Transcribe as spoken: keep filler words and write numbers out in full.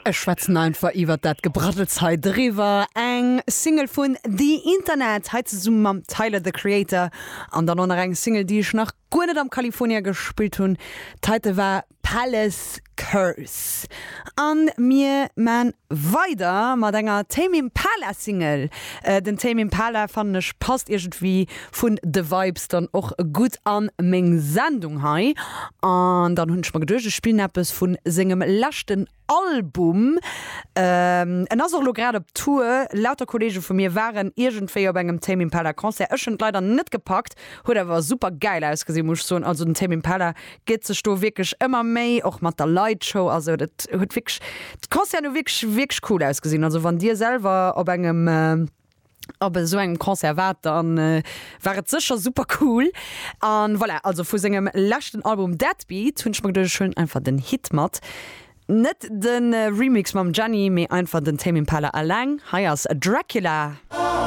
Ech schwätzen einfach iwwer dat Gebraddels hei driwwer. Eng Single vun The Internet, hei zesumme mam Tyler, the Creator. An dann och nach eng Single, déi ech nach guer net am California gespillt hunn. D'heite war Palace Curse. An mir man weider mat enger Tame Impala Single. Den Tame Impala fannen ech passt iergendwéi vun de Vibes dann och gutt an meng Sendung hei. An dann hunn ech mer geduecht, ech spillen eppes vun sengem leschten Album. En ass och elo grad op Tour. Lauter Kollege vu mir waren iergendwéi op engem Tame Impala Concert. Ech hunn et leider net gepackt, huet awer super gäil ausgesinn, muss ech soen. Also den Tame Impala gëtt sech do wierklech ëmmer Méi, och mat der Lightshow a sou. Dat huet wierklech, d'Concerten hu wierklech, wierklech cool ausgesinn. Also wann dir selwer op engem, op esou engem Concert waart, dann war et sécher super cool. An voilà, also vu sengem leschten Album Deadbeat hunn ech mer geduecht, ech huelen einfach den Hit mat. Net de Remix mam Jenny, mee einfach den Tame Impala eleng. Hei ass Dracula.